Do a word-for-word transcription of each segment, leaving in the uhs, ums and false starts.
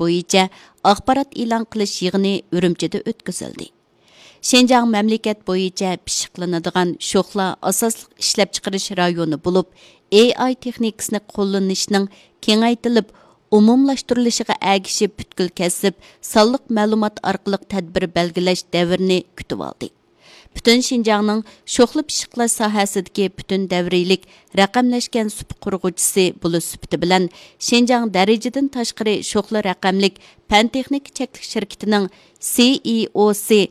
بويىچە ئاخبارات ئېلان قىلىش يىغىنى ئۈرۈمچىدە ئۆتكۈزۈلدى. شىنجاڭ مەملىكەت بويىچە پىششىقلىنىدىغان شوخلا ئاساسلىق ئىشلەپچىقىرىش رايونى بولۇپ، ئېي ئاي تېخنىكىسىنى قوللىنىشنىڭ كېڭەيتىلىپ ئومۇملاشتۇرۇلۇشىغا ئەگىشىپ، پۈتكۈل كەسىپ سانلىق مەلۇمات ئارقىلىق تەدبىر بەلگىلەش دەۋرىنى كۈتۈۋالدى. پۈتۈن شىنجاڭنىڭ شوخلا پىششىقلاش ساھەسىدىكى پۈتۈن دەۋرىيلىك رەقەملەشكەن سۇپا قۇرغۇچىسى بولۇش سۈپىتى بىلەن، شىنجاڭ دەرىجىدىن تاشقىرى شوخلا رەقەملىك پەن تېخنىكا چەكلىك شىركىتىنىڭ سىئىئوسى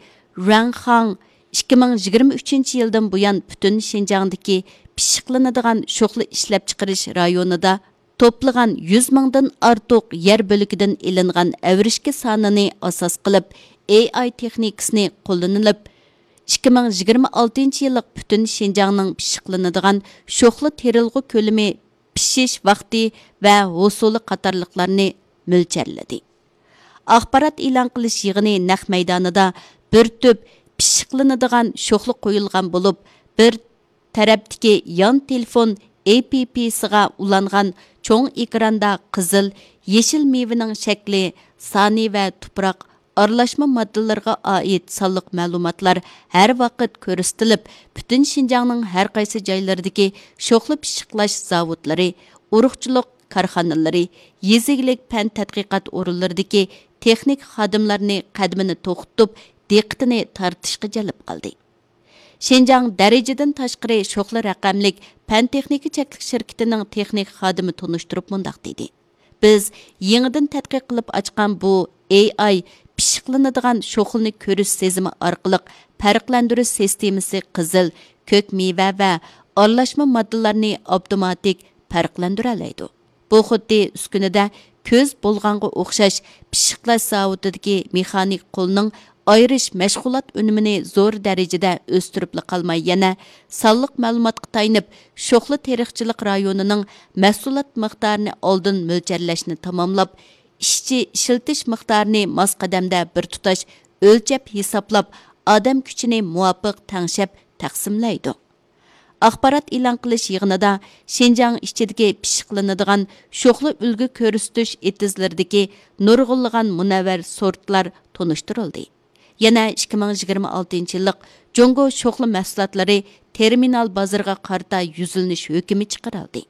رۇەنخاڭ ئىككى مىڭ يىگىرمە ئۈچىنچى يىلدىن بۇيان پۈتۈن شىنجاڭدىكى پىششىقلىنىدىغان شوخلا ئىشلەپچىقىرىش رايونىدا توپلىغان يۈز مىڭدىن ئارتۇق يەر بۆلىكىدىن ئېلىنغان ئەۋرىشكە سانىنى ئاساس قىلىپ، ئېي ئاي تېخنىكىسىنى قوللىنىلىپ، ئىككى مىڭ يىگىرمە ئالتىنچى يىللىق پۈتۈن شىنجاڭنىڭ پىششىقلىنىدىغان شوخلا تېرىلغۇ كۆلىمى، پىشىش ۋاقتى ۋە ھوسۇلى قاتارلىقلارنى مۆلچەرلىدى. ئاخبارات ئېلان قىلىش يىغىنى نەق مەيدانىدا بىر تۈپ پىششىقلىنىدىغان شوخلا قويۇلغان بولۇپ، بىر تەرەپتىكى يان تېلېفون ئېپپىسىغا ئۇلانغان چوڭ ئېكراندا قىزىل، يېشىل مېۋىنىڭ شەكلى، سانى ۋە تۇپراق ئارىلاشما ماددىلىرىغا ئائىت سانلىق مەلۇماتلار ھەر ۋاقىت كۆرسىتىلىپ، پۈتۈن شىنجاڭنىڭ ھەر قايسى جايلىرىدىكى شوخلا پىششىقلاش زاۋۇتلىرى، ئۇرۇقچىلىق كارخانىلىرى، يېزا ئىگىلىك پەن تەتقىقات ئورۇنلىرىدىكى تېخنىك خادىملارنى قەدىمىنى توختىتىپ، دىققىتىنى تارتىشقا جەلپ قىلدى. شىنجاڭ دەرىجىدىن تاشقىرى شوخلا رەقەملىك پەن تېخنىكا چەكلىك شىركىتىنىڭ تېخنىك خادىمى تونۇشتۇرۇپ مۇنداق دېدى: بىز يېڭىدىن تەتقىق قىلىپ ئاچقان بۇ ئېي ئاي پىششىقلىنىدىغان شوخلىنى كۆرۈش سېزىمى ئارقىلىق پەرقلەندۈرۈش سىستېمىسى قىزىل، كۆك مېۋە ۋە ئارىلاشما ماددىلارنى ئاپتوماتىك پەرقلەندۈرەلەيدۇ. بۇ خۇددى ئۈسكۈنىدە كۆز بولغانغا ئوخشاش پىششىقلاش زاۋۇتىدىكى مېخانىك قولنىڭ ئايرىش مەشغۇلات ئۈنۈمىنى زور دەرىجىدە ئۆستۈرۈپلا قالماي، يەنە سانلىق مەلۇماتقا تايىنىپ، شوخلا تېرىقچىلىق رايونىنىڭ مەھسۇلات مىقدارىنى ئالدىن مۆلچەرلەشنى تاماملاپ، ئىشچى ئىشلىتىش مىقدارىنى ماس قەدەمدە بىر تۇتاش ئۆلچەپ ھېسابلاپ، ئادەم كۈچىنى مۇۋاپىق تەڭشەپ تەقسىملەيدۇ. ئاخبارات ئېلان قىلىش يىغىنىدا شىنجاڭ ئىچىدىكى پىششىقلىنىدىغان شوخلا ئۈلگە كۆرسىتىش ئېتىزلىرىدىكى نۇرغۇنلىغان مۇنەۋۋەر سورتلار تونۇشتۇرۇلدى. يەنە ئىككى مىڭ يىگىرمە ئالتىنچى يىللىق جۇڭگو شوخلا مەھسۇلاتلىرى تېرمىنال بازىرىغا قارىتا يۈزلىنىش ھۆكۈمى چىقىرىلدى.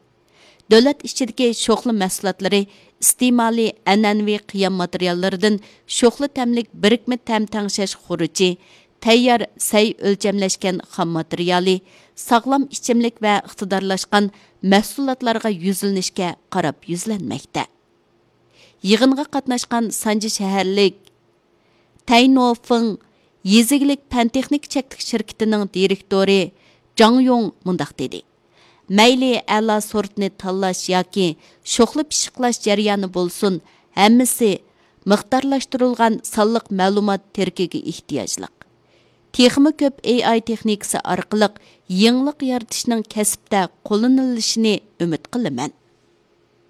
دۆلەت ئىچىدىكى شوخلا مەھسۇلاتلىرى ئىستېمالى ئەنئەنىۋى قىيام ماتېرىياللىرىدىن شوخلا تەملىك بىرىكمە تەم تەڭشەش خۇرۇچى، تەييار سەي ئۆلچەملەشكەن خام ماتېرىيالى، ساغلام ئىچىملىك ۋە ئىقتىدارلاشقان مەھسۇلاتلارغا يۈزلىنىشكە قاراپ يۈزلەنمەكتە. يىغىنغا قاتناشقان سانجى شەھەرلىك تەينوفېڭ يېزا ئىگىلىك پەن تېخنىكا چەكلىك شىركىتىنىڭ دىرېكتورى جاڭ يۇڭ مۇنداق دېدى: مەيلى ئەلا سورتنى تاللاش ياكى شوخلا پىششىقلاش جەريانى بولسۇن، ھەممىسى مىقدارلاشتۇرۇلغان سانلىق مەلۇمات تىرىكىگە ئېھتىياجلىق. تېخىمۇ كۆپ ئېي ئاي تېخنىكىسى ئارقىلىق يېڭىلىق يارىتىشنىڭ كەسىپتە قوللىنىلىشىنى ئۈمىد قىلىمەن.